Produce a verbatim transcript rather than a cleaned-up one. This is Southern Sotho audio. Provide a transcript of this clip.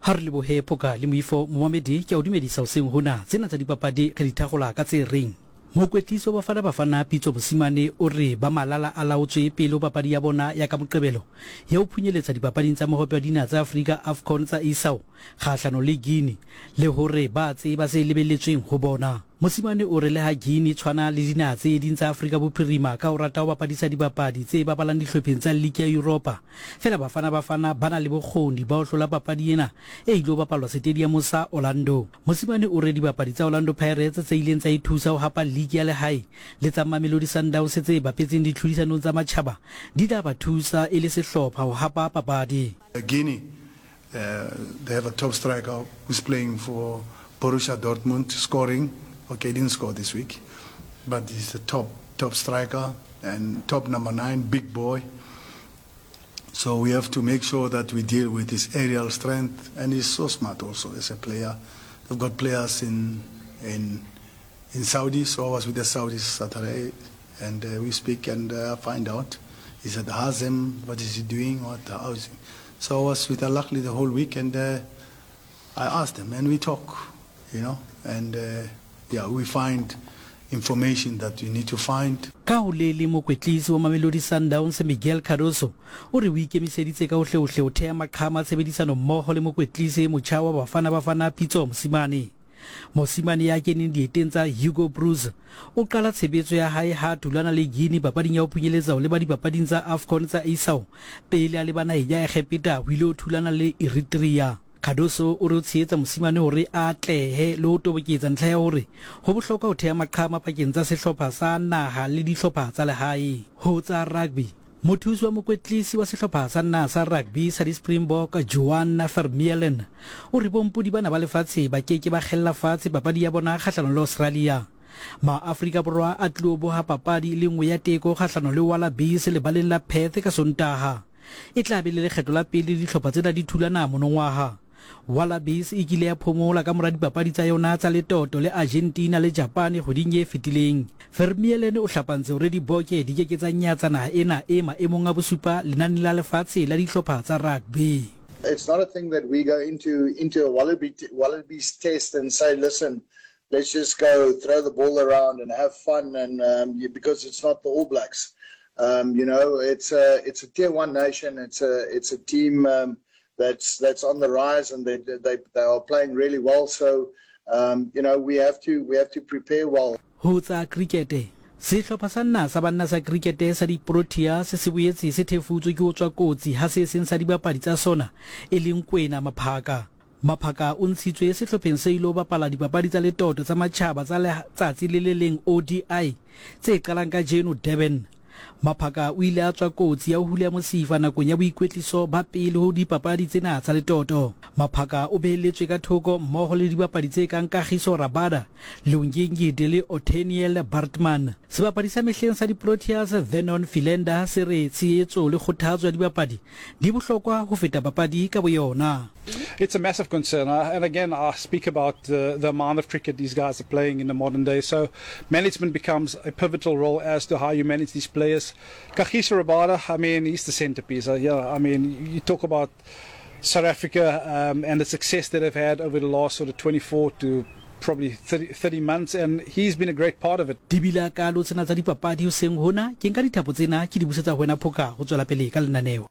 Ha re lebohe Phoka le Moifo. Momamedi, ke a o dumedisa hoseng hona. Tsena tsa dipapadi re di thagola ka tse reng. Mokwetlisi wa Bafana Bafana Pitso Mosimane o re ba malala a laotswe pele ho papadi ya bona ya ka Moqebelo ya ho phunyeletsa dipapading tsa Mohope wa Dinaha tsa Afrika AFCON tsa isao kgahlano le Guinea le hore ba tseba se lebelletsweng ho bona. Mosimane o re le ha Guinea e tshwana le dinaha tse ding tsa Afrika Bophirima ka ho rata ho bapadisa dibapadi tse bapalang dihlopheng tsa liki ya Yuropa, fela Bafana Bafana ba na le bokgoni ba ho hlola papadi ena e ilo bapalwa setediamo sa Orlando. Mosimane o re dibapadi tsa Orlando Pirates tse ileng tsa ithusa ho hapa liki ya lehae le tsa Mamelodi Sundowns tse bapetseng ditlhodisanong tsa matjhaba di tla ba thusa e le sehlopha ho hapa papadi. Guinea, uh, they have a top striker who's playing for Borussia Dortmund, scoring. Okay, he didn't score this week, but he's the top top striker and top number nine, big boy. So we have to make sure that we deal with his aerial strength, and he's so smart also as a player. They've got players in in in Saudi, so I was with the Saudis Saturday, and uh, we speak and uh, find out. He's at Hazem, what is he doing? What how is he? So I was with Al Ahly the whole week, and uh, I asked them, and we talk, you know, and uh, yeah, we find information that we need to find. Ka ho le leng mokwetlisi wa Mamelodi Sundowns Miguel Cardoso o re o ikemiseditse ka hohlehohle ho theha maqhama a tshebedisano mmoho le mokwetlisi e motjha wa Bafana Bafana Pitso Mosimane. Mosimane ya keneng dieteng tsa Hugo Broos o qala tshebetso ya hae ha a thulana le Guinea papading ya ho phunyeletsa ho leba dipapading tsa AFCON tsa isao pele a leba naheng ya Egepeta ho ile ho thulana le Eritrea. Cardoso o re o tshehetsa Mosimane hore a atlehe le ho toboketsa ntlha ya hore ho bohlokwa ho theha maqhama pakeng tsa sehlopha sa naha le dihlopha tsa lehae. Ho tsa rugby, mothusi wa mokwetlisi wa sehlopha sa naha sa rugby sa di-Springbok Johan Vermeulen o re bompodi bana ba lefatshe ba ke ke ba kgella fatshe papadi ya bona kgahlanong le Australia. Maafrika Borwa a tlilo boha papadi e le nngwe ya teko kgahlano le Wallabies lebaleng la Perth ka Sontaha. E tla be le lekgetlo la pele dihlopha tsena di thulana monongwaha. Wallabies e kile ya phomola ka mora dipapadi tsa yona tsa letoto le Argentina le Japan kgweding e fetileng. Vermeulen o hlapantse hore diboke di ke ke tsa nyatsa naha ena e maemong a bosupa lenaneng la lefatshe la dihlopha tsa rugby. It's not a thing that we go into into a Wallaby Wallabies test and say, listen, let's just go throw the ball around and have fun, and um, because it's not the All Blacks. Um, you know, it's a it's a tier one nation. It's a it's a team um, that's that's on the rise, and they they they are playing really well. So, um, you know, we have to we have to prepare well. Ho tsa krikete, sehlopha sa naha sa banna sa krikete sa di-Proteas se boetse se thefutswe ke ho tswa kotsi ha se seng sa dibapadi tsa sona e leng Kwena Maphaka. Maphaka o ntshitswe sehlopheng se ilo bapala dipapadi tsa letoto tsa matjhaba tsa letsatsi le le leng O D I tse qalang kajeno Durban. Maphaka o ile a tswa kotsi ya ho huleha mosifa nakong ya boikwetliso ba pele ho dipapadi tsena tsa letoto. Maphaka o behelletswe ka thoko mmoho le dibapadi tse kang Kagiso Rabada, Lungi Ngidi le Ottaniel Baartman. Sebapadi sa mehleng sa di-Proteas Vernon Philander se re tshehetso le kgothatso ya dibapadi di bohlokwa ho feta papadi ka boyona. It's a massive concern. Uh, and again, I speak about the, the amount of cricket these guys are playing in the modern day. So management becomes a pivotal role as to how you manage these players. Kagiso Rabada, I mean, he's the centerpiece. Uh, yeah, I mean, you talk about South Africa um, and the success that they've had over the last sort of twenty-four to probably thirty, thirty months, and he's been a great part of it. Di bile kalo tsena tsa dipapadi hoseng hona. Ke nka dithapo tsena ke di busetsa ho wena Phoka ho tswela pele ka lenaneo.